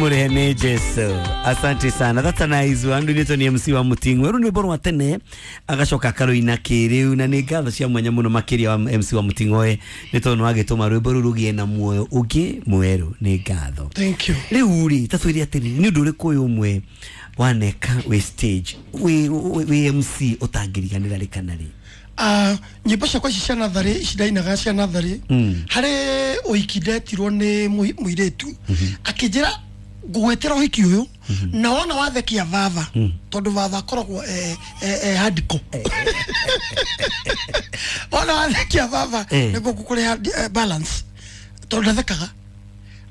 Murehene Jesu. Asante sana. That's a nice one. Ndunito ni MC wa Muting'o. Rĩu nĩ wa tene agacoka akaroina kĩrĩu na nĩ ngatho cia mwanya mũno makĩria wa MC wa Muting'o nĩ tondũ nĩwagĩtũma rwĩmbo rũu rũgĩe na muoyo ũngĩ mwerũ. Nĩ ngatho. Thank you. Rĩu rĩ ta twĩre atĩrĩrĩ, nĩ ũndũ ũrĩkũ ũyũ ũmwe waneka wĩ stage wĩ MC ũtangĩriganĩra rĩ kana rĩ? Nyĩmbo ciakwa ici cia natharĩ ici ndainaga cia natharĩ harĩ ũhiki ndetirwo nĩ mũirĩtu akĩnjĩra ngũgwĩtĩra ũhiki ũyũ na wona wathekia baba tondũ baba akoragwo hardcore wona wathekia baba nĩguo ngũkũrĩha balance tondũ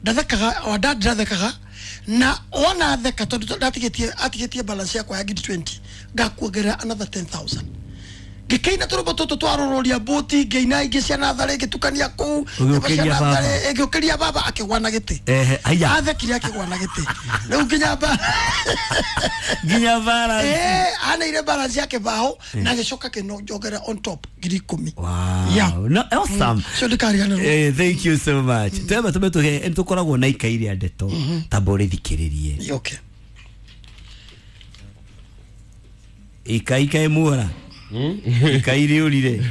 ndathekaga o ndathekaga na wona theka tondũ ndatigĩtie balance yakwa ya ngiri 20 ngakuongerera another 10,000 ngĩkĩina tũrũmbo tũtũ twarũrũria mbũti ngĩina ingĩ cia natharĩ ngĩtukania kũu ngĩũkĩria baba akĩgwa na gĩtĩ athekire akĩgwa na gĩtĩ rĩu nginya balance aneire balance yake bao na agĩcoka kĩnongerera on top ngiri 10. Wow. Yeah. No, awesome. So ndikariganĩrwo. Thank you so much. Twemba tũme tũhe nĩtũkoragwo na ikai rĩa ndeto tamba ũrĩthikĩrĩrie. Okay. Ikai kaĩ muora ikai rĩũrire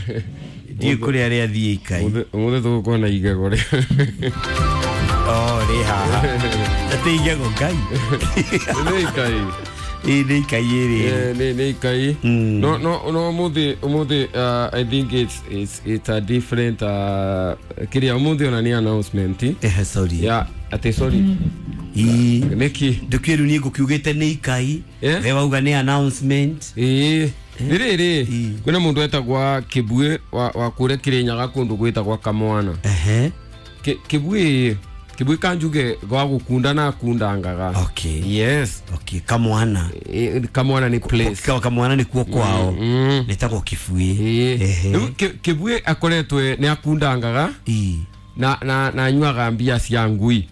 ndiĩ kũrĩa rĩathiĩ ikai ũmũthĩ tũgũkorwo na igego rĩ oh rĩ haha atĩ igego ngai nĩ ikai ĩ nĩ ikai ĩrĩ nĩ ikai no no no ũmũthĩ I think it's a different kĩrĩa ũmũthĩ ona nĩ announcement sorry yeah atĩ sorry nĩkĩ ndũkĩrũ niĩ ngũkiugĩte nĩ ikai we wauga nĩ announcement rĩrĩ kwĩna mũndũ etagwa Kĩbuĩ wa kũrĩa Kĩrĩnyaga kũndũ gwĩtagwa Kamwana. Kĩbuĩ kanjuge gwa gũkunda na akundangaga. Okay. Yes. Okay, Kamwana. Kamwana nĩ place. Kamwana nĩ kuo kwao. Nĩtagwo Kĩbuĩ. Rĩu Kĩbuĩ akoretwe nĩ akundangaga na anyuaga mbia cia ngui.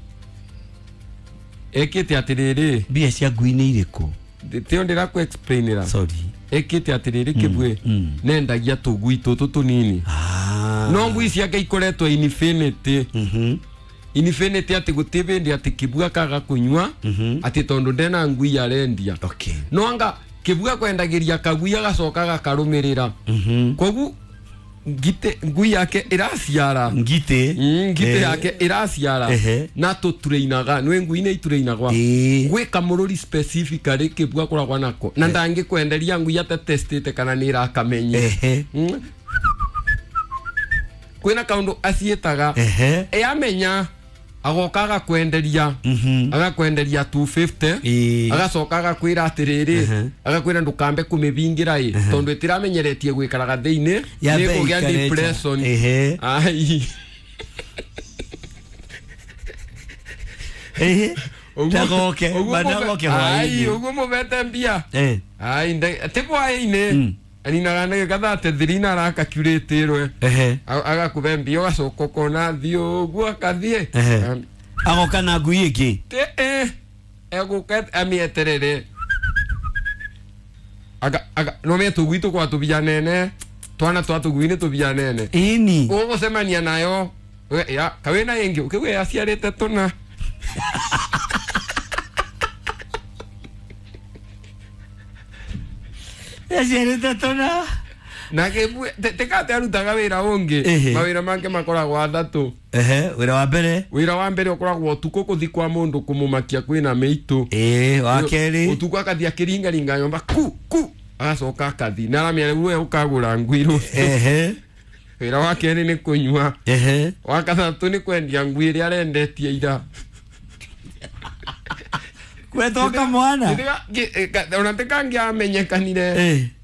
Ekĩte atĩrĩrĩ. Mbia cia ngui nĩ irĩkũ? Tĩo ndĩrakũ explainĩra. Sorry. Ekĩte atĩrĩrĩ Kĩbuĩ nendagia tũgui tũtũ tũnini no ngui ciake ikoretwo infinity infinity atĩ gũtirĩ hĩndĩ atĩ Kĩbuĩ akaga kũnyua atĩ tondũ ndena ngui arendia. Okay. No anga Kĩbuĩ akwendagĩria kagui agacoka gakarũmĩrĩra koguo ngite ngui yake ĩraciara ngite ngite yake ĩraciara na tũturainaga nĩ ngui nĩ iturainagwa gwĩ kamũrũri specifically Kĩbuĩ akoragwo nako na ndangĩkwenderia ngui atatestĩte kana nĩ ĩrakamenye kwĩna kaũndũ aciĩtaga yamenya agoka agakwenderia agakwenderia 250 agacoka agakwĩra atĩrĩrĩ agakwĩra ndũkambe kũmĩbingĩra ĩ tondũ ĩtiramenyeretie gwĩkaraga thĩinĩ nĩkũgĩa depression. Ai ndagoke bandagoke hwaĩ ũguo mũbete mbia ai ti hwaĩ-inĩ aninaga ndagĩka 33 na arakakurĩtĩrwe agakũbe mbia ũgacoka ũkona thiĩ ũguo akathiĩ agoka na ngui ĩngĩ egũka amĩeterere no me tũgui tũkwa tũbia nene twana twa tũgui nĩ tũbia nene ĩni ũgũcemania nayo kawĩna ĩngĩ ũkĩgwe yaciarĩte tũna yaciarĩte tũna na Kĩbuĩ tĩkate arutaga wĩra ũngĩ mawĩra make makoragwo athatũ. Wĩra wa mbere ũkoragwo ũtukũ kũthi kwa mũndũ kũmũmakia kwĩna mĩitũ. Wa kerĩ ũtukũ akathiĩ akĩringaringa nyũmba ku ku agacoka akathi na aramenya rĩu we ũkagũra ngui rũciũ. Wĩra wa kerĩ nĩ kũnyua. Wa gatatũ nĩ kwendia ngui ĩrĩa arendetie ira. Gwetwo Kamwana ona tĩkangĩamenyekanire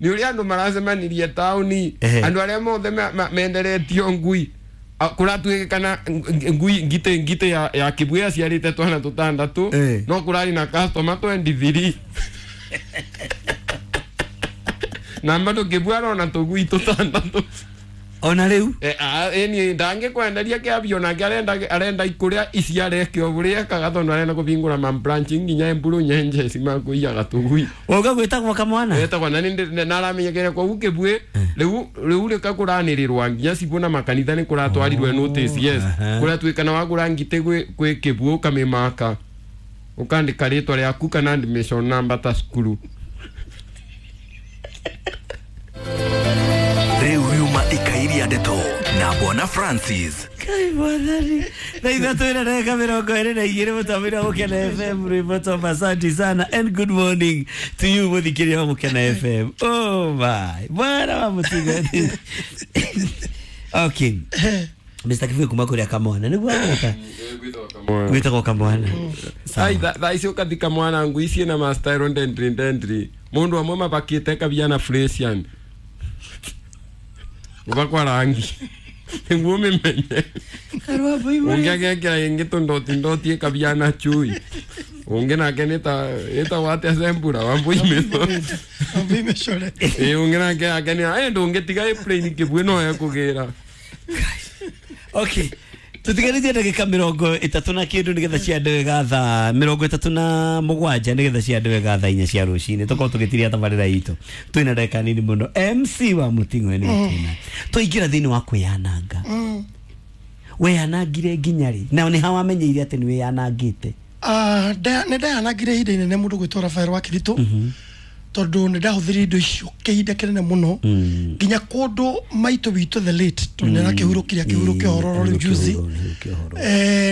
nĩ ũrĩa andũ maracemanirie taũni andũ arĩa mothe menderetio ngui kũratuĩkana ngui ngite ya Kĩbuĩ yaciarĩte twana tũtandatũ no kũrarĩ na customer 23 na bado Kĩbuĩ arona tũgui tũtandatũ ona rĩu ĩni ndangĩkwenderia kĩambio nake arenda ikũrĩa iciareke o ũrĩa ekaga tondũ arenda kũbingũra ma branch nginya Emburu Nyenje makũiyaga tũgui ũga gwĩtagwo Kamwana etagwo na nĩaramenyekere koguo Kĩbuĩ rĩu rĩka kũranĩrĩrwa nginya cibũ na makanitha nĩ kũratwarirwe notice yes kũratuĩkana wagũra ngitĩ gwĩ Kĩbuĩ ũkamĩmaka Ukandika ritwa riaku kana admission number ta cukuru. Riu riuma ikairia ndeto na Bwana Francis. Kai bwana. Na ithatũ ĩna ndagĩka 22 mũtambo-inĩ wa Mũkena FM rwĩmbo Tom, asante sana and good morning to you mũthikĩria wa Mũkena FM. Oh my. Bwana wa mũtigo. Okay. Mr. Kivuyo kuma kũrĩa Kamwana nĩguo agwĩta? Gwĩtagwo Kamwana. Ai thaa ici ũkathika mwana ngui ciĩna ma-style ndendri ndendri mũndũ amwe mabakĩte kabia na Fresian ũgakwa rangi nĩguo ũmĩmenye. Ũngĩ agekĩra ĩngĩ tũndoti ndoti ĩkabia na chui ũngĩ nake nĩtagwo atĩa Sembura Wambui Mĩcore ĩĩ ũngĩ nake ake nĩ ndũngĩtiga ĩ plain kĩbuĩ no ekũgĩra. Okay. Tutigarĩtie ndagĩka 30 na kĩndũ nĩgetha ciande wega thaa 37 nĩgetha ciande wega thaa 4 cia rũcinĩ tũkorwo tũgĩtiria tabarĩra itũ twĩna ndagĩka nini mũno. MC wa Mũting'oe nĩ twĩna twaingĩra thĩinĩ wa kwĩyananga. Weyanangire nginya rĩ na nĩ ha wamenyeire atĩ nĩ wĩyanangĩte? Nĩ ndayanangire ihinda inene mũndũ gwĩtwo Rafael wa Kiritũ tondũ nĩ ndahũthĩrire indo icio kĩhinda kĩnene mũno nginya kũndũ maitũ witũ the late tondũ nĩ arakĩhurũkire akĩhurũkia ũhoro rĩu juzi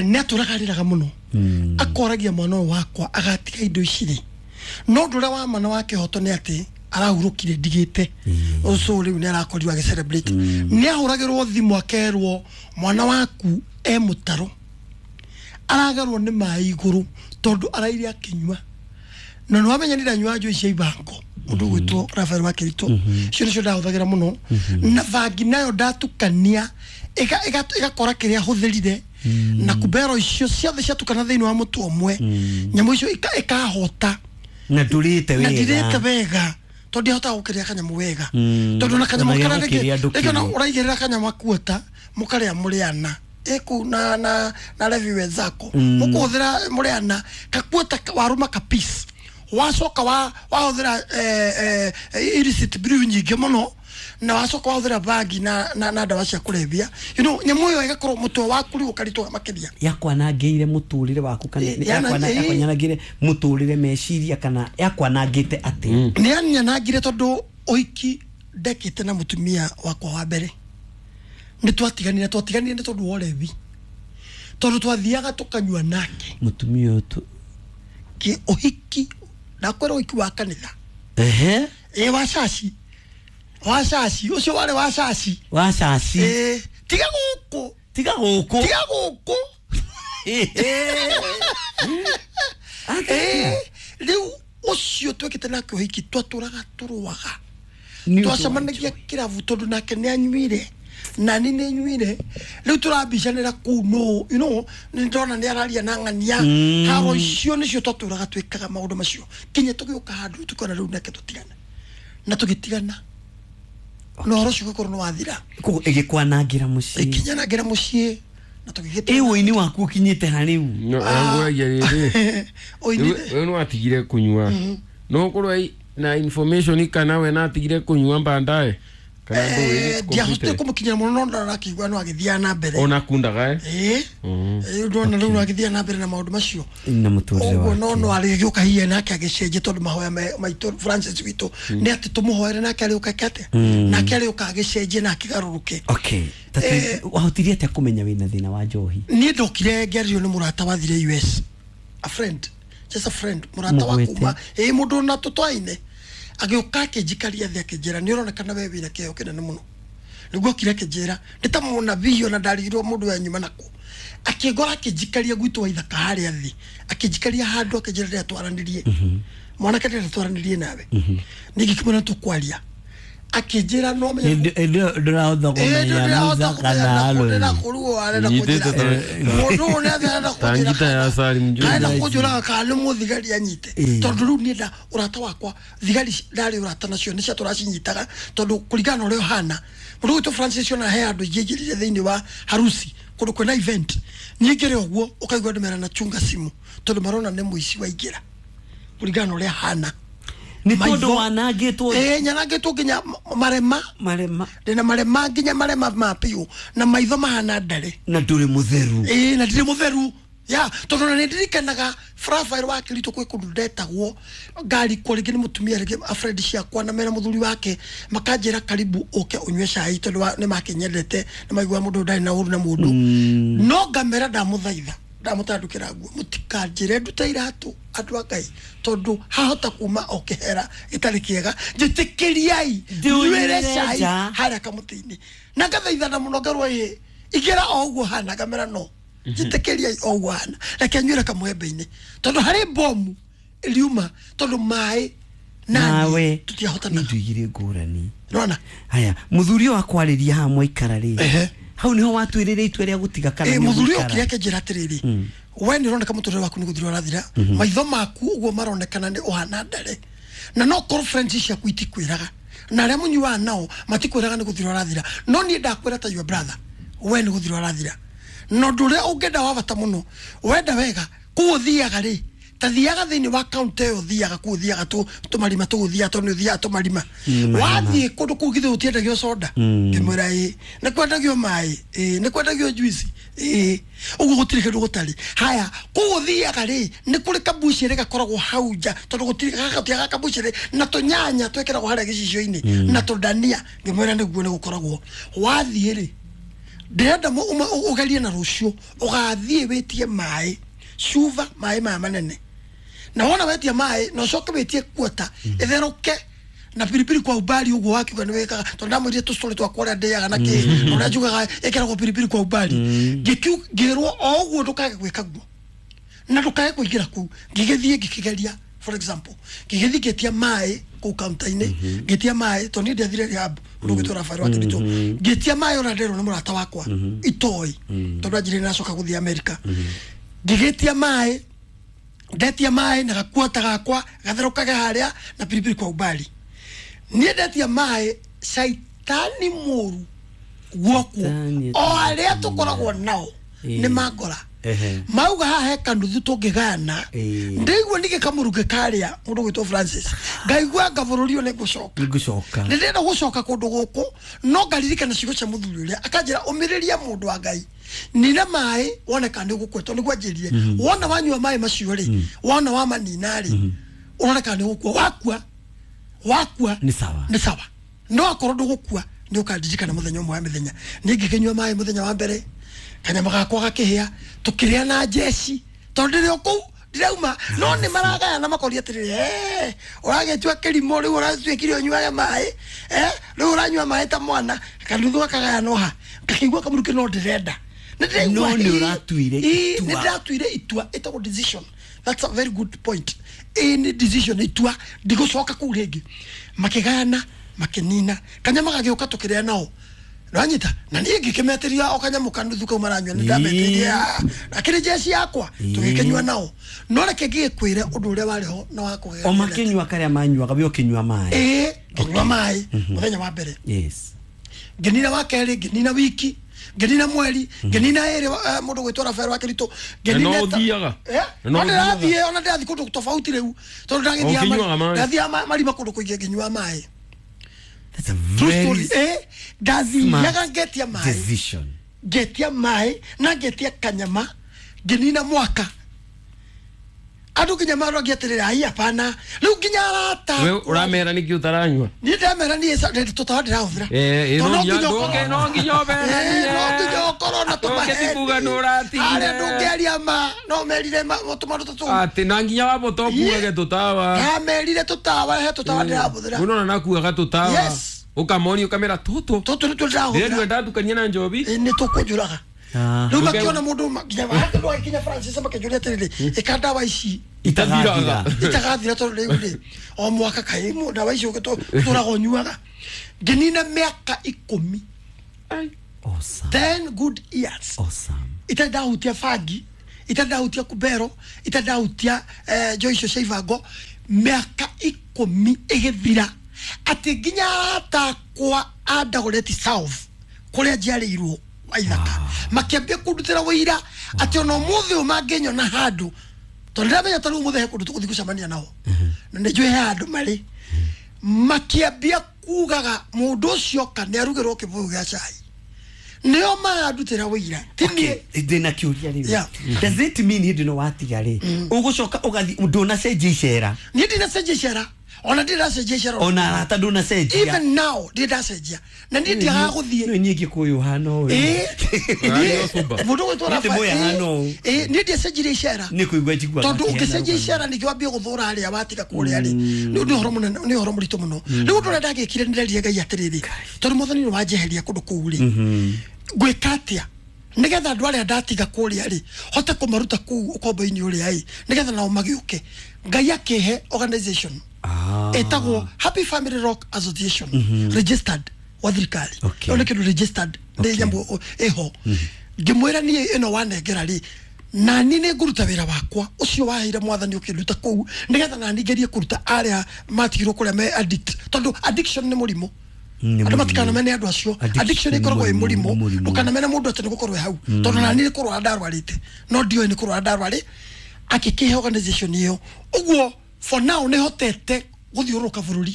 nĩ atũraga arĩraga mũno akoragia mwana ũyũ wakwa agatiga indo ici rĩ no ũndũ ũrĩa wa ma na wa kĩhoto nĩ atĩ arahurũkire ndigĩte ũcio rĩu nĩ arakorirwo agĩ celebrate nĩ ahũragĩrwo thimũ akerwo mwana waku e mũtaro aragarwo nĩ maĩ igũrũ tondũ araire akĩnyua na nĩ wamenya nĩ ndanyua njohi cia ibango mũndũ ũgwĩtwo Rafael wa Kiritũ icio nĩcio ndahũthagĩra mũno na bangi nayo ndatukania ĩgakora kĩrĩa hũthĩrire na kumbero icio ciothe ciatukana thĩinĩ wa mũtu ũmwe nyamũ icio ikahota na ndũrĩte wega na ndirĩte wega tondũ ndihotaga gũkĩrĩa kanyamũ wega tondũ na kanyamũ karĩa rĩngĩ ona ũraigĩrĩra kanyamũ akuota mũkarĩa mũrĩ ana ĩkũ na levi wenzako mũkũhũthĩra mũrĩ ana kakuota warũma ka piece wacoka wahũthĩra illicit brew nyingĩ mũno na wacoka wahũthĩra bangi na ndawa cia kũrebia you know nyamũ ĩyo ĩgakorwo mũtwe waku rĩu ũkaritũha makĩria. Yakwanangĩire mũtũrĩre waku kana yakwanangĩire mũtũrĩre meciria kana yakwanangĩte atĩ? Nĩ yanangire tondũ ũhiki ndekĩte na mũtumia wakwa wa mbere nĩ twatiganire nĩ tondũ wa ũrebi tondũ twathiaga tũkanyua nake mũtumia ũyũ kĩ ũhiki ndakwĩra ũhiki wa kanitha ehe ĩ wa caci ũcio warĩ wa caci ĩ tiga gũkũ rĩu ũcio twekĩte nake ũhiki twatũraga tũrũaga twacemanagia kĩrabu tondũ nake nĩ anyuire nani nĩ nyuire rĩu tũrambicanĩra kũu no you know nĩ ndona nĩ araria na ng'ania haro icio nĩcio twatũraga twĩkaga maũndũ macio kinya tũgĩũka handũ tũkona rĩu nake tũtigana na tũgĩtigana na ũhoro ũcio ũgĩkorwo nĩ wathira koguo ĩgĩkwanangĩra mũciĩ ĩkinyanangĩra mũciĩ na tũgĩgĩtigana. Ĩ ũini waku ũkinyĩte ha rĩu? Ngũragia rĩrĩ we nĩ watigire kũnyua no ũkorwo na information kana we natigire kũnyua baadaye ndiahotire kũmũkinyĩra mũno no ndarakĩigua no agĩthiaga na mbere ona kundaga ĩ ndona rĩu no agĩthiaga na mbere na maũndũ macio na mũtũrĩre ũguo no no arĩgĩũka hihi nake agĩcenjia tondũ mahoya maitũ Francis witũ nĩ atĩ tũmũhoere nake arĩũka atĩa nake arĩũka agĩcenjie na akĩgarũrũke. Okay wahotirie atĩa kũmenya wĩna thĩna wa njohi? Niĩ ndokire ngĩarĩrio nĩ mũrata wathire US a friend just a friend mũrata wa kuma ĩ mũndũ na tũtwaine agĩũka akĩnjikaria thĩ akĩnjĩra nĩ ũronekana we wĩna kĩheo kĩnene mũno nĩguo okire akĩnjĩra nĩ ta mũnabii ona ndarigirwo mũndũ wa nyuma nakũ akĩngora akĩnjikaria gwitũ wa ithaka harĩa thĩ akĩnjikaria handũ akĩnjĩra ndĩrĩa twaranĩrie mwanake ndĩrĩa twaranĩrie nawe ningĩ kĩmwĩra tũkwaria akĩnjĩra no menya ndũrahota kũmenya Musa kana Harũni kũruo arenda kũnjĩra mũndũ ũyũ nĩ arenda kũnjĩra kũnjũraga kana nĩ mũthigari anyite tondũ rĩu niĩ nda ũrata wakwa thigari ndarĩ ũrata nacio nĩ cia tũracinyitaga tondũ kũringana na ũrĩa ũhana mũndũ gwitũ Francis ona he andũ ingĩ aingĩrire thĩinĩ wa harusi kũndũ kwĩna event nyingĩre ũguo ũkaigua andũ merana chunga simu tondũ marona nĩ mũici waingĩra kũringana na ũrĩa hana nĩ tondũ wanangĩtwo nyanangĩtwo nginya marema ndĩna marema nginya marema ma piũ na maitho mahana ndare na ndũrĩ mũtheru na ndirĩ mũtheru Ya tondu na ndirikanaga Rafael wa Kirito kwi kundu ndetagwo ngari kwa ringi ni mutumia ringi a friend ciakwa na mena muthuri wake makanjira karibu uke unywe cai tondu ni makinyendete na maigua mundu ndari na uru na mundu no ngamera ndamuthaitha ndamutandukira nguo mutikanjire ndute iratu andu a Ngai tondu hahota kuma o kihera gitari kiega njitikiriai nywire cai haria kamuti-ini na ngathaithana muno ngarwo ĩ igira o uguo hana ngamera no njitikiria o uguo hana reke nywire kamwembe-ini tondu hari bomu iriuma tondu mai nawe tutiahotana nduigire ngurani nona haya muthuri wakwa ariria ha mwaikara ri hau niho watwirire itua ria gutiga kana ni muthuri okire akinjira atiriri we ni uroneka muturire waku ni guthira urathira maitho maku uguo maronekana ni uhana ndare na no korwo friends ciaku itikwiraga na aria munyuaga nao matikwiraga ni guthira urathira no nie ndakwira ta your brother we ni guthira urathira no ndure ungenda wa bata muno wenda wega kuu thiaga ri ta thiaga thiini wa county yo thiaga kuu thiaga tu tumarima tu thia tu ni thia tumarima wathie kundu kuu githu utiendagio soda ngimwira ii ni kwendagio mai ii ni kwendagio juice ii uguo gutiri kindu gutari haya kuu thiaga ri ni kuri kabucere gakoragwo hau nja tondu gutiri gakatiaga kabucere na tunyanya twekiragwo haria gicicio-ini na tudania ngimwira niguo ni gukoragwo wathie ri ndirenda ugerie na rucio ugathie witie mai cuba mai maya manene na wona wetia mai na ucoke witie kuota itheruke na piripiri kwa ubali uguo wakiuga ni wikaga tondu ndamwirire tustory twakwa uria ndiaga na ki uria njugaga ikiragwo piripiri kwa ubali ngirwo o uguo ndukage gwika guo na ndukage kuingira kuu ngigithie ngikigeria for example ngigithie ngitia mai kuu counter-ini ngitia mai tondu ni ndiathire rehab ndugitwo Rafael wa Kirito ngitia mai ona nderwo ni murata wakwa itoi tondu anjirire nacoka guthie America ngigitia mai ndetia mai na gakuota gakwa gatherũkage haria na piripiri kwa ubali nie ndetia mai caitani mũru guokuo o aria tukoragwo nao ni mangora mauga haha he kanuthu tũngĩgayana ndĩigua ningĩ kamũrukĩ karĩa mũndũ gwĩtwo Francis ngaigua anga bũrũri ũyũ nĩngũcoka nĩndĩrenda gũcoka kũndũ gũkũ no ngaririkana ciugo cia mũthuri ũrĩa akanjĩra ũmĩrĩria mũndũ wa Ngai nina maĩ wone kana nĩũgũkua tondũ nĩguo anjĩrire wona wanyua maĩ macio rĩ wona wamanina rĩ ũrone kana nĩũgũkua wakua wakua nĩ sawa nĩ sawa no akorwo ndũgũkua nĩ ũkandirikana mũthenya ũmwe wa mĩthenya niĩ ngĩkĩnyua maĩ mũthenya wa mbere kanyama gakwa gakĩhĩa tukĩrĩa na njeci tondũ ndĩrĩ o kũu ndirauma no nĩ maragayana makoria atĩrĩrĩ ũragĩtua kĩrimũ rĩu ũratuĩkire ũnyuage maĩ rĩu ũranyua maĩ ta mwana kanuthu gakagayanwo ha ngakĩigua kamũrukĩ no ndĩrenda no nĩ ũratuire itua nĩ ndĩratuire itua ĩtagwo decision. That's a very good point. Ĩ nĩ decision itua ndigũcoka kũu rĩngĩ makĩgayana makĩnina kanyama gagĩũka tũkĩrĩa nao nanyita na niĩ ngĩkĩmetĩria o kanyamũ kanuthu kau maranyua nĩ ndametĩria akĩrĩ njeci yakwa tũgĩkĩnyua nao no reke ngĩgĩkwĩre ũndũ ũrĩa warĩ ho na wa kũgegania o makĩnyua karĩa manyuaga we ũkĩnyua maĩ ĩĩ ngĩnyua maĩ mũthenya wa mbere yes ngĩnina wa kerĩ ngĩnina wiki ngĩnina mweri ngĩnina ĩrĩ mũndũ gwĩtwo Rafael wa Kirito ngĩnina no ũthiaga no ndĩrathiĩ ona ndĩrathiĩ kũndũ tofauti rĩu tondũ ndagĩthiaga marima kũndũ kũingĩ ngĩnyua maĩ. That's a very ndathiaga ngetia maĩ decision ngetia maĩ na ngetia kanyama ngĩnina mwaka andũ nginya marogia atĩrĩrĩ ai hapana rĩu nginya arata we ũramera nĩkĩ ũtaranyua niĩ ndĩramera niĩ tũtawa ndĩrahũthĩra no nginya ũmeranie no nginya ũkorwo na tũmahe kuga nĩ ũratigire arĩa ndũngĩaria ma no merire tũmaũndũ ta tũu atĩ na nginya wambũta ũkuage tũtawa ndamerire tũtawa he tũtawa ndĩrahũthĩra ũnona nakuaga tũtawa yes ũkamoni ũkamera tũtũ tũtũ nĩtuo ndĩrahũthĩra ndĩrenda ndatukania na njobi nĩ tũkũnjũraga rĩu makiona mũndũ nginya handũ agĩkinya Francis makĩnjũria atĩrĩrĩ ĩka ndawa ici itagathira itagathira tondũ rĩu rĩ o mwaka kaĩ ndawa ici ũtũraga ũnyuaga ngĩnina mĩaka 10 10 good years itarĩ ndahutia bangi itarĩ ndahutia kubero itarĩ ndahutia njohi icio cia ibango mĩaka 10 ĩgĩthira atĩ nginya arata akwa a Dagoretti South kũrĩa njiarĩirwo waithaka makiambia kundutira wira ati ona umuthi ũyũ mangĩnyona handũ tondũ ndĩramenya ta rĩu ũmũthĩ he kũndũ tũgũthiĩ gũcemania nao na nĩ njũĩ he handũ marĩ makiambia kugaga mũndũ ũcio oka nĩ arugĩrwo kĩbũyũ gĩa cai Nĩo marandutĩra wĩira ti niĩ. Ndĩna kĩũria rĩu. Does it mean hĩndĩ ĩno watiga rĩ ũgũcoka ũgathiĩ ndũnacenjia icera? Niĩ ndinacenjia icera, ona ndiracenjia icera, ona arata ndũnacenjia, even now ndiracenjia, na niĩ ndiagaga gũthiĩ. Nĩ niĩ Gĩkũyũ hana ũũ. Mũndũ gwĩtwo niĩ ndiacenjirie icera nĩ kũigua njiguaga, tondũ ũngĩcenjia icera ningĩ wambie gũthũra arĩa watiga kũrĩa rĩ, nĩ ũhoro mũnene, nĩ ũhoro mũritũ mũno. Rĩu ũndũ ũrĩa ndagĩkire nĩ nderire Ngai atĩrĩrĩ, tondũ Mwathani nĩ wanjeheria kũndũ kũu rĩ, ngwĩka atĩa nigetha andũ arĩa ndatiga kũrĩa rĩ hote kũmaruta kũu ũkombo-inĩ ũrĩa ĩ, nigetha nao magĩũke. Ngai akĩhe organization ĩtagwo Happy Family Rock Association, registered wa thirikari. Ĩyo nĩ kĩndũ registered, nĩ nyamũ ĩho. Ngĩmwĩra niĩ ĩno wanengera rĩ, nani nĩ ngũruta wĩra wakwa ũcio waheire Mwathani ũkĩnduta kũu, nĩgetha nani ngerie kũruta arĩa matigirwo kũrĩa me addict, tondũ addiction nĩ mũrimũ. Andũ matikanamene andũ acio, addiction ĩkoragwo ĩ mũrimũ. Ndũkanamene mũndũ atĩ nĩ gũkorwo hau, tondũ nani nĩ kũrwara ndarwarĩte, no ndioĩ nĩ kũrwara ndarwarĩ. Akĩkĩhe organization ĩyo ũguo for now nĩ hotete gũthiũrũrũka bũrũri,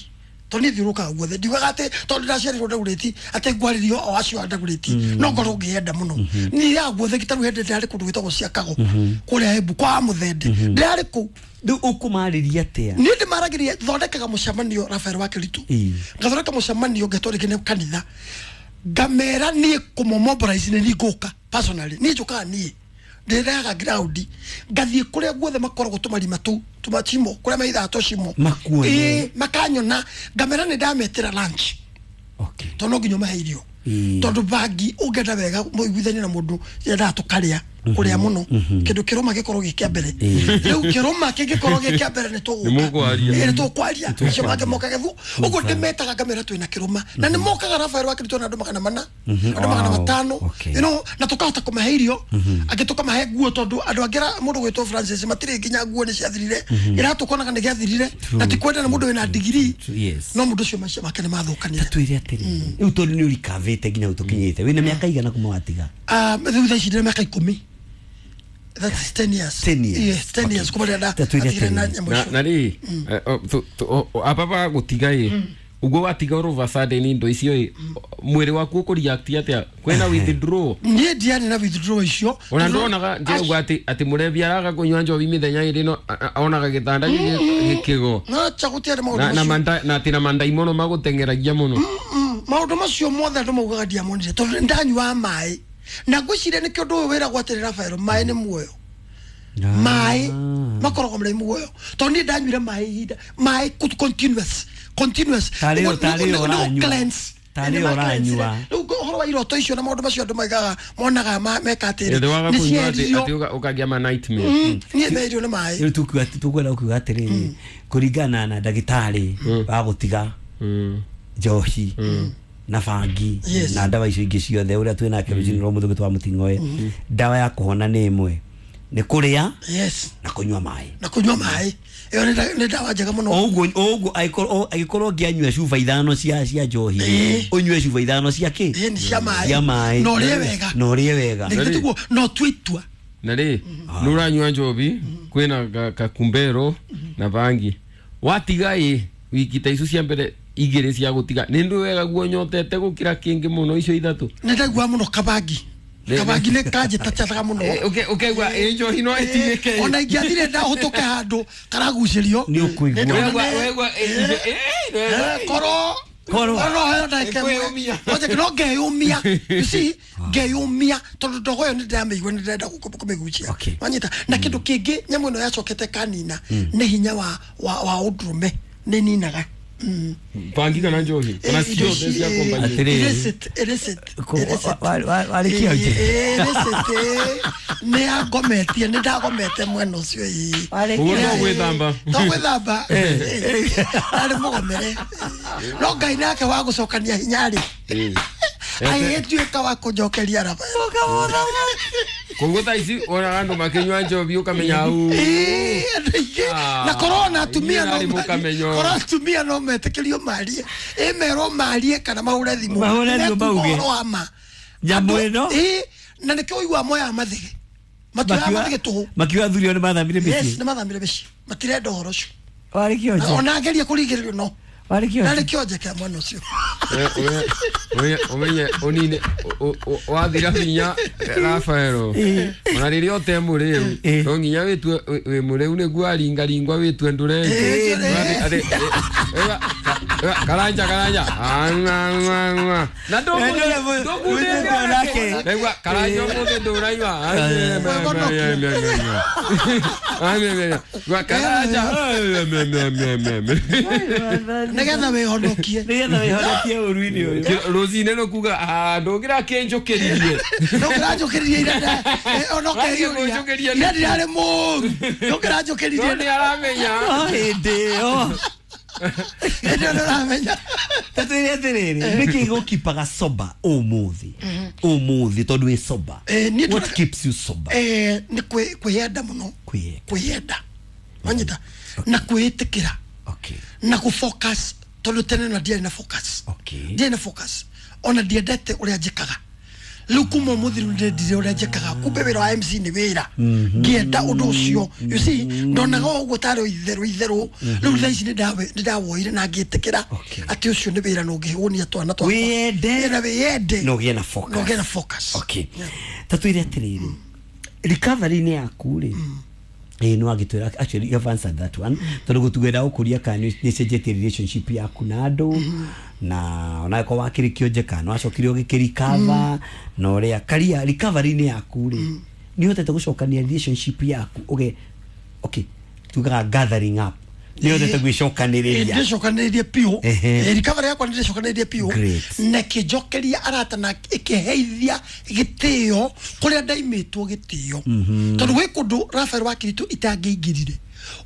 tondũ niĩ thiũrũrũkaga guothe. Ndiugaga atĩ tondũ ndaciarirwo Ndagũrĩti atĩ ngwarĩrio o acio a Ndagũrĩti, no ngorwo ngĩenda mũno. Niĩ ya guothe gĩtarũ hĩndĩ ndĩrarĩ kũndũ gwĩtagwo Ciakago kũrĩa Embu kwa Mũthende, ndĩrarĩ kũu. Rĩu ũkũmarĩria atĩa? Niĩ ndĩmaragĩria, thondekaga mũcemanio Rafael wa Kĩritũ, ngathondeka mũcemanio ngetwo rĩngĩ nĩ kanitha, ngamera niĩ kũmũmobilize nĩ niĩ ngũka personally, niĩ njũkaga niĩ ndĩrehaga ground, ngathiĩ kũrĩa guothe makoragwo tũmarima tũu tũmacimo kũrĩa maithaga tũcimo makanyona, ngamera nĩ ndametĩra lunch, tondũ no nginya ũmahe irio, tondũ bangi ũngĩenda wega mũiguithanie na mũndũ yendaga tũkarĩa kũrĩa mũno, kĩndũ kĩrũma gĩkorwo gĩ kĩa mbere. Rĩu kĩrũma kĩngĩkorwo gĩ kĩa mbere nĩ tũgũka, nĩ tũkwaria, acio mangĩ moka gethu. Ũguo ndĩmetaga ngamera twĩna kĩrũma, na nĩ mokaga Rafael wa Kĩritũ na andũ 400, andũ 500, you know, na tũkahota kũmahe irio, angĩ tũkamahe nguo, tondũ andũ angĩ mũndũ gwĩtwo Francis matirĩ nginya nguo nĩ ciathirire, iratũ konaga nĩ gĩathirire, na ti kwenda na mũndũ wĩna digiri, no mũndũ ũcio maica make nĩ mathũkanire. Twĩre atĩrĩrĩ, rĩu tondũ nĩ ũrikavĩte nginya ũtũkinyĩte, wĩna mĩaka igana kuma watiga? Rĩu thaa ici ndĩna mĩaka 10. That's 10 years. 10 years. Yes, 10 years. Kuma rĩrĩa ndatigire na nyamũ icio. Na rĩ, apa gũtiga ĩ, ũguo watiga all of a sudden indo icio ĩ, mwĩrĩ waku ũkũreact atĩa? Kwĩna withdraw? Niĩ ndiarĩ na withdraw icio. Ona ndonaga ndĩrauga atĩ mũrebi araga kũnyua njohi mĩthenya ĩrĩ no onaga gĩtanda gĩkĩgo. No cha gũtiarĩ maũndũ macio. Na atĩ na mandaimono magũteng'eragia mũno. Maũndũ macio mothe andũ maugaga ndiamonire tondũ ndanyuaga maĩ. Na ngwĩciria nĩkĩo ũndũ ũyũ wĩragwo atĩrĩ Rafael, maĩ nĩ muoyo. Maĩ makoragwo marĩ muoyo, tondũ niĩ ndanyuire maĩ ihinda, maĩ continuous continuous, rĩu ũhoro wa iroto icio na maũndũ macio andũ maigaga monaga meka atĩrĩ nĩ cieririo, ũkagĩa ma nightmare. Niĩ meririo nĩ maĩ. Rĩu tũkwenda kuuga atĩrĩrĩ, kũringana na ndagĩtarĩ wa gũtiga njohi na bangi na ndawa icio ingĩ ciothe ũrĩa twĩ nake rũcinĩ rwa mũthũngũ twa Mũting'oe, ndawa ya kũhona nĩ ĩmwe, nĩ kũrĩa na kũnyua maĩ. Na kũnyua maĩ ĩyo nĩ ndawa njega mũno. Ũguo ũguo angĩkorwo ũngĩanyua cuba 5 cia njohi, ũnyue cuba 5 cia kĩ? Cia maĩ. Na ũrĩe wega. Na ũrĩe wega. Nĩguo no tue itua. Na rĩ, nĩ ũranyua njohi, kwĩna kakumbero na bangi, watiga ĩ wiki ta icio cia mbere igĩrĩ cia gũtiga, nĩ ndũ wega guo nyotete gũkĩra kĩngĩ mũno icio ithatũ. Nĩ ndaigua mũno kabangi. Kabangi nĩ kanjĩtacathaga mũno. Ũkaigua ĩ njohi no ĩtigĩke. Ona ingĩathire ndahũtũke handũ karagucĩrio. Nĩ ũkũigua. Waigua korwo Korwo. No heo ndagĩka ĩmwe. No ngeyũmia. You see, ngeyũmia tondũ ndogo ĩyo nĩ ndĩramĩigua, nĩ ndĩrenda kũmĩgucia. Wanyita. Na kĩndũ kĩngĩ nyamũ ĩno yacokete kanina nĩ hinya wa ũndũrũme, nĩ ninaga. Bangi kana njohi kana ciothe cia kombanyi. Illicit. Warĩkia ũnjĩ. Illicit nĩ yangometie, nĩ ndagomete mwena ũcio ĩ. Ũguo no gwĩthamba. To gwĩthamba. Arĩ mũgomere. No Ngai nake wa gũcokania hinya rĩ, agĩtuĩka wa kũnjokeria Rafael. Koguo thaa ici wonaga andũ makĩnyua njohi ũkamenya au. Na korwo atumia no korwo atumia no metĩkĩrio marie, ĩmerwo marie kana mahũre thimũ. Mahũre thimũ mauge. Nyamũ ĩno. Na nĩkĩo ũiguaga moyaga mathĩgĩ. Matuoyaga mathĩgĩ tũhũ. Makiuga athuri ao nĩ mathamire mĩciĩ. Yes, nĩ mathamire mĩciĩ. Matirenda ũhoro ũcio. Warĩ kĩonje. Ona angeria kũringĩrĩrio no. Warĩ kĩonje. Warĩ kĩonje kĩa mwana ũcio. Umenye onine wathira hinya Rafaelo ona rĩrĩa ũte mũrĩu no nginya wĩtue wĩ mũrĩu nĩguo aringaringwa wĩtue ndũrenge karanja karanja na ndũkundĩte nĩgua karanja ũmũthĩ ndũraima karanja nĩgetha wĩhonokie nĩgetha wĩhonokie ũru-inĩ ũyũ rũcinĩ nĩkuga ndũngĩra kĩnjũkĩririe ndũngĩranjũkĩririe ira onoke ira ndirarĩ mũru ndũngĩranjũkĩririe no nĩaramenya hĩndĩ ĩyo hĩndĩ ĩyo nĩũramenya tatwĩre atĩrĩrĩ nĩkĩ gũkipaga sober ũmũthĩ ũmũthĩ tondũ wĩ sober what keeps you sober nĩ kwĩyenda mũno kwĩyenda wanyita na kwĩĩtĩkĩra na gũ-focus tondũ tene na ndiarĩ na focus ndiarĩ na focus ona ndiendete ũrĩa njĩkaga rĩu kuma ũmũthĩ rĩu ndĩrendire ũrĩa njĩkaga kumbe wĩra wa MC nĩ wĩra ngĩenda ũndũ ũcio you see ndonaga ũguo tarĩ itherũ itherũ rĩu thaa ici nĩ ndawoire na ngĩtĩkĩra atĩ ũcio nĩ wĩra na ũngĩhũnia twana twakwa wĩyende na wĩyende na ũgĩe na focus na ũgĩe na focus okay tatwĩre atĩrĩrĩ recovery-inĩ yaku rĩ no agitwira actually you have answered that one tondu gutugwenda gukuria kana ni cenjetie relationship yaku na andu na ona ko wakirikio njeka no acokire ugikirikava na uria karia recovery ni yaku ri ni hotete gucokania relationship yaku uge okay tugaga gathering up ni hotete gwicokaniriria ndicokaniririe piu recovery yakwa ndicokaniririe piu na kijokeria arata na ikiheithia gitio kuria ndaimitwo gitio tondu gwi kundu Rafael wa Kiritu itangĩingĩrire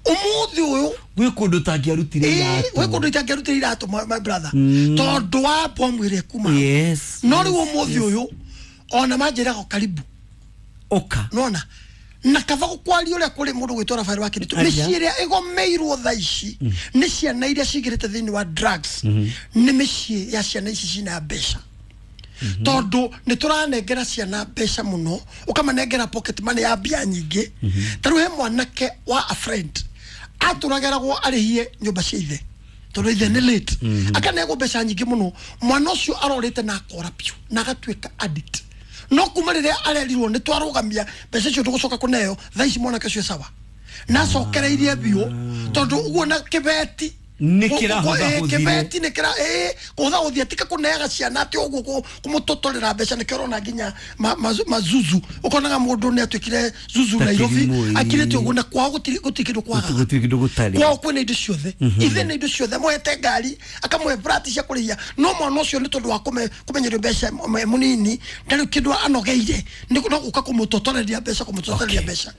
umuthi uyu gwi kundu tangiarutire iratu gwi kundu itangiarutire iratu my brother tondu wa bomu ĩrĩa kuma yes no riu umuthi uyu ona manjĩraga karibu oka nona na kava gukwaria uria kuri mundu gwitwo Rafael wa Kiritu mĩciĩ ĩrĩa ĩgomeirwo thaa ici nĩ ciana iria cigĩrĩte thĩinĩ wa drugs nĩ mĩciĩ ya ciana ici cina mbeca tondu nĩ tũranengera ciana mbeca mũno ũkamanengera pocket money ya mbia nyingĩ ta rĩu he mwanake wa a friend atũrageragwo arĩhie nyũmba cia ithe tondu ithe nĩ late akanengwo mbeca nyingĩ mũno mwana ũcio arorĩte na akora piũ na agatuĩka addict no kuma rĩrĩa arerirwo nĩ twarũgamia mbeca icio ndũgũcoka kũneo thaa ici mwanake ũcio sawa na acokereirie biũ tondũ ũguo na kĩbeti nĩ kĩrahũthahũthire kĩbeti nĩ kĩra kũhũthahũthia tika kũneaga ciana atĩ ũguo kũmũtotorera mbeca nĩkĩo ũrona nginya mazuzu ũkonaga mũndũ nĩ atuĩkire zuzu Nairobi akirĩte ũguo na kwao gũtirĩ kĩndũ kwagaga gũtirĩ kĩndũ gũtarĩ kwao kwĩna indo ciothe ithe na indo ciothe amũhete ngari akamũhe brati cia kũrĩhia no mwana ũcio nĩ tondũ wa kũmenyerio mbeca mũnini ndarĩ kĩndũ anogeire no gũka kũmũtotoreria mbeca kũmũtotoreria mbeca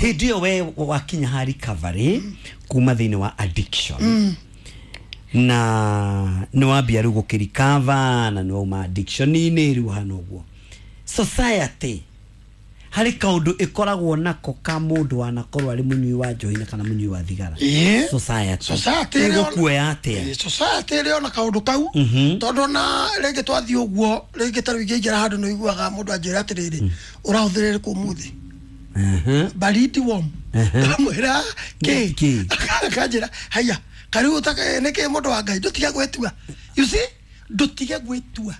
hĩndĩ ĩyo we wakinya ha recovery kuma thĩinĩ wa addiction na nĩ wambia rĩu gũkĩrikava na nĩ wauma addiction-inĩ rĩu hana ũguo society harĩ kaũndũ ĩkoragwo nako ka mũndũ wanakorwo arĩ mũnyui wa njohi na kana mũnyui wa thigara society ĩgũkuoya atĩa society ĩrĩ ona kaũndũ kau tondũ ona rĩngĩ twathiĩ ũguo rĩngĩ ta rĩu ingĩingĩra handũ nĩ ũiguaga mũndũ anjĩra atĩrĩrĩ ũrahũthĩrire kũ ũmũthĩ baridi warm ndamwĩra kĩ akanjĩra haya kariu nĩkĩ mũndũ wa Ngai ndũtige gwĩtua you see ndũtige gwĩtua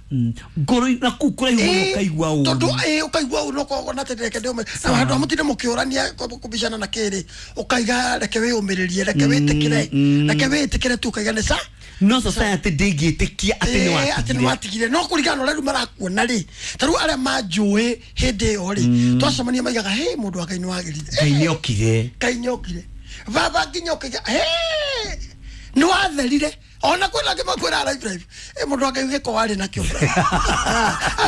ngoro na kũu kũraihu mũno ũkaigua ũru tondũ ũkaigua ũru ũkona atĩ reke ndĩũme na handũ ha mũtinde mũkĩũrania kũbicana na kĩrĩ ũkaiga reke wĩyũmĩrĩrie reke wĩtĩkĩre reke wĩtĩkĩre tu ũkaiga nĩ sa no society ndĩngĩtĩkia atĩ nĩ watigire atĩ nĩ watigire no kũringana na ũrĩa rĩu marakuona rĩ ta rĩu arĩa manjũĩ hĩndĩ ĩyo rĩ twacemania maigaga he mũndũ wa Ngai nĩ wagĩrire Ngai nĩ okire Ngai nĩ okire baba nginya ũkaiga he nĩ watherire ona kwĩna angĩ makwĩra live live mũndũ wa Ngai gĩko warĩ nakĩo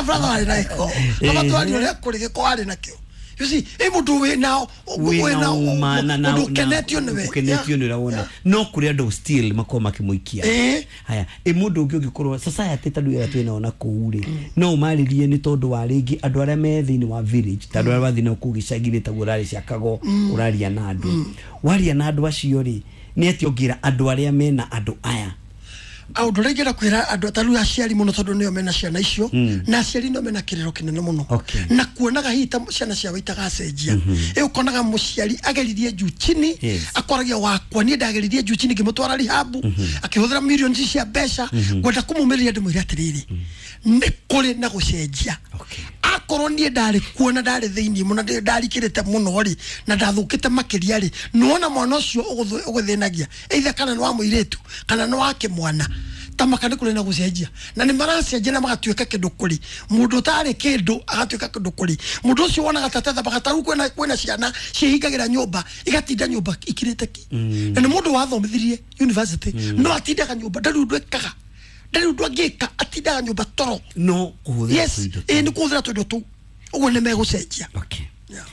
brother warĩ na gĩko baba twaria ũrĩa kũrĩ gĩko warĩ nakĩo you see mũndũ wĩna ũndũ ũkenetio nĩwe ũkenetio nĩ ũrĩa wona no kũrĩ andũ still makorwo makĩmũikia haya mũndũ ũngĩ ũngĩkorwo society ta rĩu ĩrĩa twĩnao na kũu rĩ no ũmarĩrie nĩ tondũ wa rĩngĩ andũ arĩa me thĩinĩ wa village ta andũ arĩa wathiĩ nao kũu gĩcagi-inĩ taguo ũrarĩ ciakago ũraria na andũ waria na andũ acio rĩ nĩ atĩa ũngĩra andũ arĩa mena andũ aya Aũndũ ũrĩa ingĩenda kwĩra andũ ta rĩu aciari mũno, tondũ nĩo mena ciana icio, na aciari nĩo mena kĩrĩro kĩnene mũno na kuonaga hihi ta ciana ciao itagacenjia. Ĩ ũkonaga mũciari ageririe juu chini, akoragia wakwa niĩ ndageririe juu chini ngĩmũtwara rehab, akĩhũthĩra millions cia mbeca. Ngwenda kũmũmĩrĩria ndĩmwĩre atĩrĩrĩ, nĩ kũrĩ na gũcenjia. Akorwo niĩ ndarĩ kuo na ndarĩ thĩiniĩ mũno, ndarikĩrĩte mũno rĩ, na ndathũkĩte makĩria rĩ, nĩwona mwana ũcio ũgũthĩnagia, either kana nĩ wa mũirĩtu kana nĩ wa kĩmwana, tamaka nĩ kũrĩ na gũcenjia, na nĩ maracenjia na magatuĩka kĩndũ kũrĩ mũndũ ũtarĩ kĩndũ, agatuĩka kĩndũ kũrĩ mũndũ ũcio wonaga tatethabaga. Ta rĩu kwĩna ciana ciĩhingagĩra nyũmba, igatinda nyũmba ikirĩte ki, na nĩ mũndũ wathomithirie university, no atindaga nyũmba, ndarĩ ũndũ ekaga, ndarĩ ũndũ angĩka, atindaga nyũmba toro. No kũhũthĩra Yes, tũindo ĩ nĩ kũhũthĩra tũindo tũu, ũguo nĩ megũcenjia. Yeah.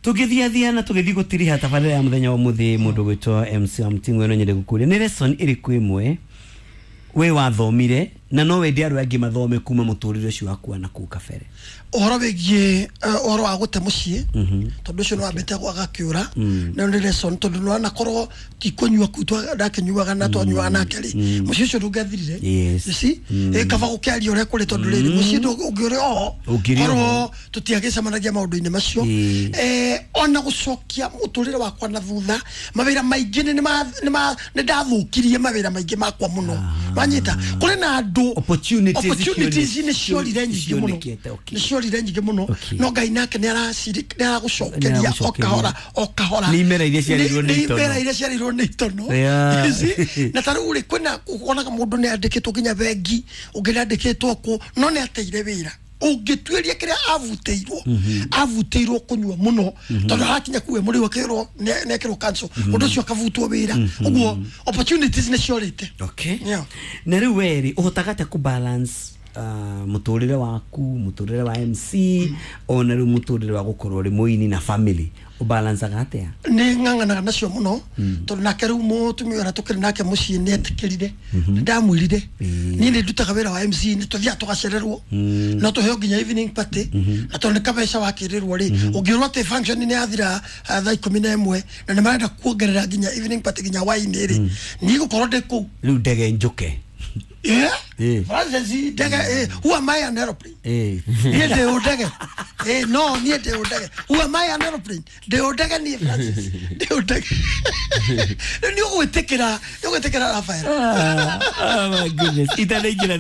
Tũgĩthiathia na tũgĩthiĩ gũtiriha tabarĩra ya mũthenya wa mũthĩ, mũndũ gwĩtwo MC wa Mũting'oe, no nyende gũkũria nĩ lesson ĩrĩkũ ĩmwe we wathomire na no wende andũ angĩ mathome kuma mũtũrĩre ũcio waku wa nakũu kabere? Ũhoro wĩgiĩ ũhoro wa gũte mũciĩ, tondũ ũcio nĩ wambĩte agakĩũra, nayo nĩ lesson, tondũ nĩwanakorwo ti kũnyua kuu ndakĩnyuaga na twanyuaga nake rĩ, mũciĩ ũcio ndũngĩathirire. Yes. You see, ĩ kaba gũkĩaria ũrĩa kũrĩ, tondũ rĩrĩ mũciĩ ũngĩũrĩ oho, Ũngĩrĩ oho. korwo tũtiagĩcemanagia maũndũ-inĩ macio. Ona gũcokia mũtũrĩre wakwa na thutha, mawĩra maingĩ nĩ ndathũkirie mawĩra maingĩ makwa mũno, wanyita, kũrĩ na andũ Opportunities opportunities nĩ ciorire nyingĩ mũno. cionekete, okay. Nĩ ciorire nyingĩ mũno. No Ngai nake nĩ aragũcokeria o Nĩaragũcokeria. kahora o kahora. Nĩ imera iria ciarirwo nĩ Nĩ itono. imera iria ciarirwo nĩ itono. Yeah. You see? Na ta rĩu rĩ, kwĩna wonaga mũndũ nĩ andĩkĩtwo nginya bengi, ũngĩ nĩ andĩkĩtwo kũ, no nĩ ateire wĩra. Ũngĩtuĩria kĩrĩa avutĩirwo, avutĩirwo kũnyua mũno, tondũ arakinya kuwe mũrĩu akĩrwo nĩ ekĩrwo cancel, ũndũ ũcio akavutwo wĩra. Ũguo opportunities nĩ ciorĩte. Yeah. Na rĩu we rĩ, ũhotaga atĩa kũ balance mũtũrĩre waku, mũtũrĩre wa MC, ona rĩu mũtũrĩre wa gũkorwo ũrĩ mũini na family, ũbalancaga atĩa? Nĩ ng'ang'anaga nacio mũno, tondũ nake rĩu mũtumia ũrĩa tũkĩrĩ nake mũciĩ nĩ etĩkĩrire. Nĩ ndamwĩrire niĩ nĩ ndutaga wĩra wa MC, nĩ tũthiaga tũgacererwo, no tũheo nginya evening party, na tondũ nĩ kabeca wakĩrĩrwo rĩ, ũngĩrwo atĩ function nĩ yathira thaa 11 na nĩ marenda kuongerera nginya evening party nginya hwaĩ-inĩ rĩ, niĩ gũkorwo ndĩ kũu. Rĩu ndege njũke. Yeah. Francis, ndege, who am I, an aeroplane? Niĩ ndĩ ũndege? No niĩ ndĩ ũndege? Who am I, an aeroplane? Ndĩ ũndege niĩ, Francis? Ndĩ ũndege? Rĩu nĩ ũgwĩtĩkĩra, nĩ ũgwĩtĩkĩra, Rafael. Ah, oh my goodness. Itanaingĩra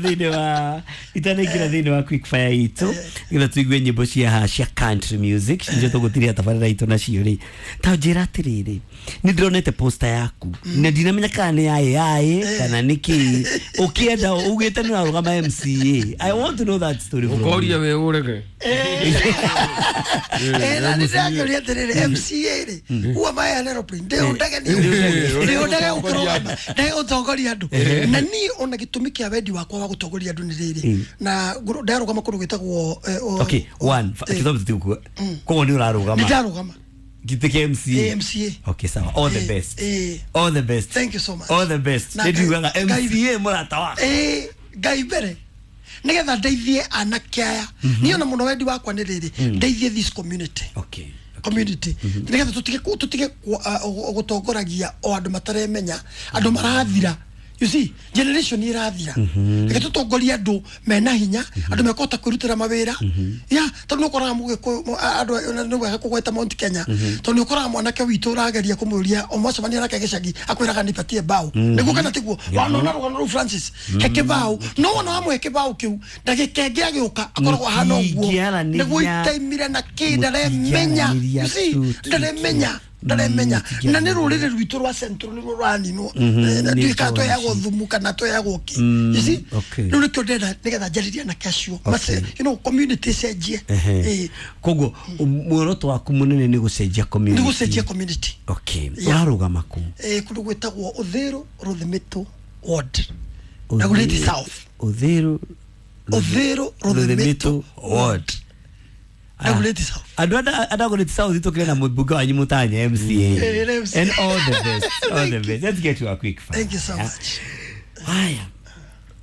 thĩinĩ wa quick fire itũ nĩgetha tũigue nyĩmbo cia country music nicio tũgũtiria tabarĩra itũ nacio rĩ, ta njĩra atĩrĩrĩ, nĩ ndĩronete poster yaku na ndinamenya kana nĩ ya AI kana nĩ kĩ, ũkĩenda ugĩte nĩ ũrarũgama MCA. I want to know that story from you. Ũkoria wĩ ũrege. Na nĩ ndĩrakĩũria atĩrĩrĩ, MCA rĩ, who am I, an aeroplane? Ndĩ ũndege niĩ? Ndĩ ũndege gũkĩrũgama ndege gũtongoria andũ? Na niĩ ona gĩtũmi kĩa wendi wakwa wa gũtongoria andũ nĩ rĩrĩ, na ndarũgama kũndũ gwĩtagwo Okay, one kithomo tũtigũkua, koguo nĩ ũrarũgama Nĩ ndarũgama. gĩtĩ kĩa MCA? MCA. Okay, sawa, all the best. All the best. Thank you so much. All the best. Na nĩ ndiugaga Ngai- MCA mũrata wakwa. Ngai mbere, nigetha ndeithie anake aya. Niĩ ona mũno wendi wakwa nĩ rĩrĩ, ndeithie this community, community, nigetha tũtige gũtongoragia o andũ mataremenya, andũ marathira. You see, generation irathira. Reke tũtongorie andũ mena hinya, andũ mekũhota kwĩrutĩra mawĩra ya, tondũ nĩ ũkoraga mũgĩkũyũ andũ nĩ wega kũgweta Mount Kenya, tondũ nĩ ũkoraga mwanake witũ ũrageria kũmũria ũmwacemania nake gĩcagi, akwĩraga nipatie bao, nĩguo kana tiguo? Wanona rũgano rũu, Francis, he kĩbaũ, no wona wamũhe kĩbaũ kĩu, ndagĩka ĩngĩ agĩũka akoragwo ahana ũguo. Mũtingĩaranĩria. Nĩguo itaimire na kĩ, ndaremenya. Mũtingĩaranĩria You see, ndaremenya, ndaremenya, na nĩ rũrĩrĩ rwitũ rwa Central nĩruo rũraninwo. Nĩ Ndiũĩ kana njũĩ tweagwo thumu kana tweagwo kĩ. You see, rĩu nĩkĩo ndĩrenda, nĩgetha njarĩrie anake acio. Community ĩcenjie. Koguo muoroto waku munene nĩ gũcenjia community? Nĩ gũcenjia community. Okay. Yeah. Ũrarũgama kũ? Kũndũ gwĩtagwo Ũthĩrũ Rũthimĩtũ ward, Dagoretti South. Uthiru? Uthiru Rũthimĩtũ ward. Dagoretti South. Andũ a Dagoretti South, tũkĩrĩ na mũmbunge wanyu mũtanya MCA. MCA. And all the best, all the best. Let's get to a quick fire. Thank you so much. Haya,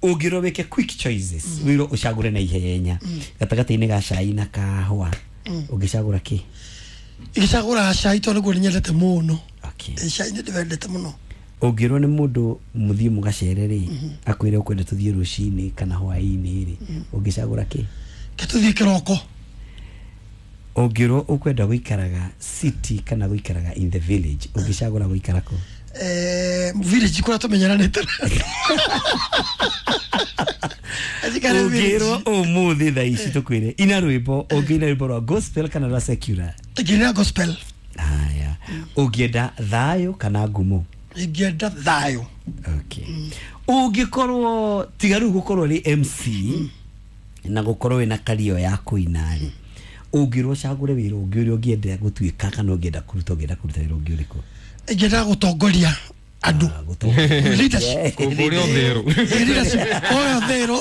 ũngĩrwo wĩke quick choices, wĩrwo ũcagũre na ihenya gatagatĩ-inĩ ga cai na kahũa, ũngĩcagũra kĩ? Ingĩcagũra cai, tondũ nĩguo nĩ nyendete mũno. Okay. Cai nĩ ndĩwendete mũno. Ũngĩrwo nĩ mũndũ mũthiĩ mũgacere rĩ, akwĩre ũkwenda tũthiĩ rũcinĩ kana hwaĩ-inĩ rĩ, ũngĩcagũra kĩ? Ke tũthiĩ kĩroko. Ũngĩrwo ũkwenda gũikaraga city kana gũikaraga in the village, ũngĩcagũra gũikara kũ? Village kũrĩa tũmenyeranĩte. Ũngĩrwo ũmũthĩ thaa ici tũkwĩre ina rwĩmbo, ũngĩina rwĩmbo rwa gospel kana rwa secular? Ingĩina gospel. Haya. Ũngĩenda thayũ kana ngumo? Ingĩenda thayũ. Okay. Ũngĩkorwo tiga rĩu gũkorwo rĩ MC na gũkorwo wĩna kario ya kũina rĩ, ũngĩrwo ũcagũre wĩra ũngĩ ũrĩa ũngĩenda gũtuĩka kana ũngĩenda kũruta, ũngĩenda kũruta wĩra ũngĩ ũrĩkũ? Ingĩenda gũtongoria andũ. Leadership. Kũrĩa ũthĩrũ. Leadership. Kũrĩa ũthĩrũ.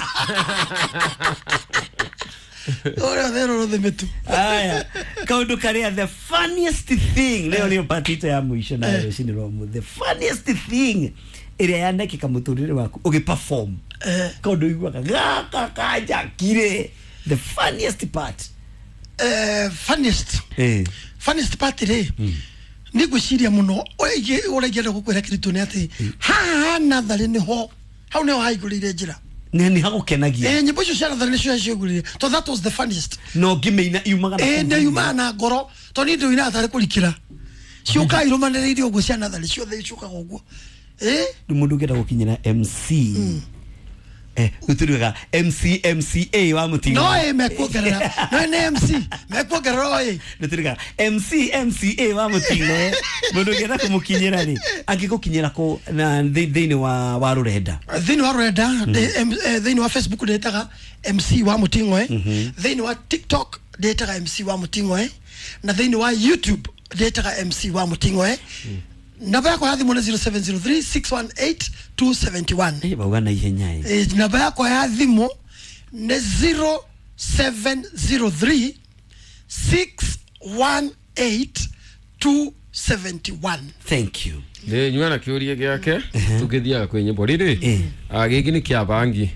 Kũrĩa ũthĩrũ rũthimĩtu. Aya, kaũndũ karĩa the funniest thing leo nĩyo part itũ ya mũico na rũcinĩ rwa ũmũthĩ. The funniest thing ĩrĩa yanekĩka mũtũrĩre waku ũgĩ perform, kaũndũ ũiguaga gaka kanjakire, the funniest part. Funniest. Funniest part rĩ, nĩ ngwĩciria mũno ũrĩa ingĩenda gũkwĩra kĩritũ nĩ atĩ haha natharĩ nĩho hau nĩho haingũrĩire njĩra. Nĩ hagũkenagia. Nyĩmbo icio cia natharĩ nĩcio ciaingũrĩire, tondũ that was the funniest. No ngĩmĩina yumaga na kũu. Nĩ yumaga na ngoro, tondũ niĩ ndĩũinaga tarĩ kũrikĩra. Ciũkaga irũmanĩrĩire ũguo cia natharĩ ciothe ciũkaga ũguo. Rĩu mũndũ ũngĩenda gũkinyĩra MC, gũtuĩkaga MC MCA wa mũtingo. No ĩ mekuongerera, no nĩ MC mekuongerera o ĩ. Gũtuĩkaga MC MCA wa mũtingo. Mũndũ ũngĩenda kũmũkinyĩra rĩ, angĩgũkinyĩra kũ na thĩinĩ wa rũrenda? Thĩinĩ wa rũrenda, thĩinĩ wa Facebook ndĩtaga MC wa Mũting'oe, thĩinĩ wa TikTok ndĩtaga MC wa Mũting'oe, na thĩinĩ wa YouTube ndĩtaga MC wa Mũting'oe. Namba yakwa ya thimũ nĩ 0703 618 271. Bauga na ihenya ĩ. Namba yakwa ya thimũ nĩ 0703 618 271. Thank you. Nĩ nyua na kĩũria gĩake tũngĩthiaga kwĩ nyĩmbo rĩrĩ. Gĩkĩ nĩ kĩa bangi.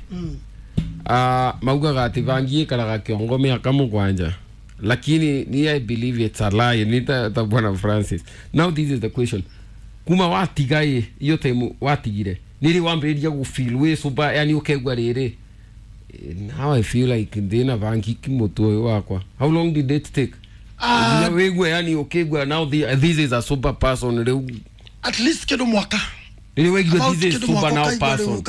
Maugaga atĩ bangi ĩkaraga kĩongo mĩaka 7, lakini ni I believe it's a lie. Ni ta Bwana Francis. Now this is the question. Kuma watiga ĩ iyo time watigire nĩrĩ wambĩrĩria gũ feel wĩ sober, yani ũkaigua rĩrĩ, now I feel like ndĩna bangi kĩmũtwe ũyũ wakwa. How long did it take? Wĩgue yani ũkĩigua now this is a sober person rĩu. At least kĩndũ mwaka. Rĩrĩ waigua this is sober now person.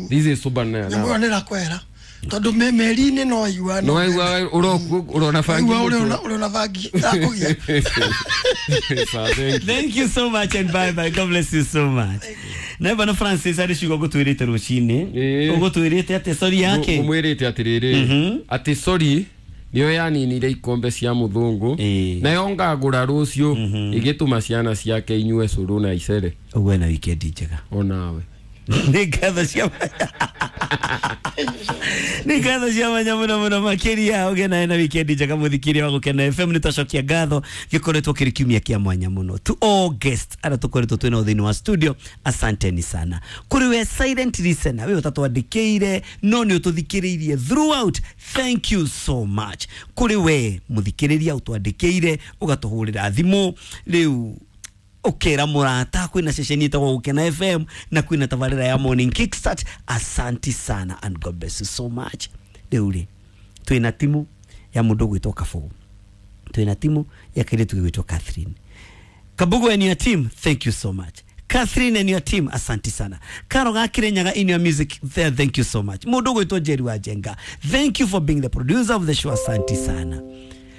This is sober now. Nyamũ ĩyo nĩ ĩrakwehera. Tondũ meri-inĩ no waigua. No waigua ũrona bangi. Ũrona bangi ĩrakũgia. Thank you so much and bye bye. God bless you so much. Na Bwana Francis arĩ ciugo gũtwĩrĩte rũcinĩ. Ũgũtwĩrĩte atĩ sorry yake. Ũmwĩrĩte atĩrĩrĩ, atĩ sorry nĩyo yaninire ikombe cia mũthũngũ, nayo ngagũra rũciũ ĩgĩtũma ciana ciake inyue cũrũ na icere. Ũguo na weekend njega. Onawe. Nĩ ngatho cia nĩ ngatho cia mwanya mũno mũno makĩria. Ũgĩe nawe na weekend njega mũthikĩria wa Gũkena FM. Nĩ twacokia ngatho, gĩkoretwo kĩrĩ kiumia kĩa mwanya mũno to all guests arĩa tũkoretwo twĩ nao thĩinĩ wa studio, asanteni sana. Kũrĩ we silent listener, we ũtatwandĩkĩire no nĩ ũtũthikĩrĩirie throughout, thank you so much. Kũrĩ we mũthikĩrĩria ũtwandĩkĩire ũgatũhũrĩra thimũ rĩu ukera murata, kwina ceceni ĩtagwo Gũkena FM na kwina tabarĩra ya Morning Kickstart, asanti sana and God bless you so much. Rĩu rĩ twina timu ya mũndũ gwĩtwo Kabugu, twina timu ya kairĩtu gwĩtwo Catherine Kabugu and your team, thank you so much. Catherine and your team, asanti sana. Karo ga Kirinyaga in your music there, thank you so much. Mũndũ gwĩtwo Jerry wa Jenga, thank you for being the producer of the show, asanti sana.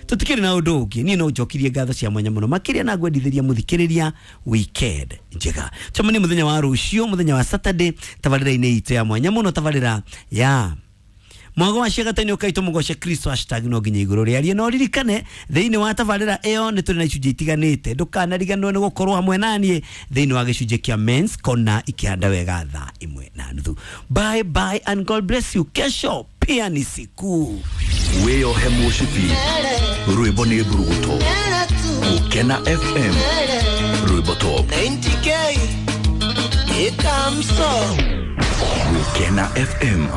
Tutikiri na ũndũ ũngĩ, niĩ no njokirie ngatho cia mwanya mũno makĩria na ngwendithĩria mũthikĩrĩria weekend njega. Cemania mũthenya wa rũciũ, mũthenya wa Saturday, tabarĩra-inĩ itũ ya mwanya mũno, tabarĩra ya mwago wa ciagatani ũkaitũ mũgoce Kristo hashtag no nginya igũrũ rĩarie. No ririkane thĩinĩ wa tabarĩra ĩyo nĩ tũrĩ na icunjĩ itiganĩte, ndũkanariganĩrwo nĩ gũkorwo hamwe naniĩ thĩinĩ wa gĩcunjĩ kĩa Men's Corner ikĩhanda wega thaa 1:30. Bye bye and God bless you. Kesho pia ni siku. Wĩyohe mũcibi, rwĩmbo nĩ mburuguto. Gũkena FM, rwĩmbo top. 90K, it comes so. Gũkena FM.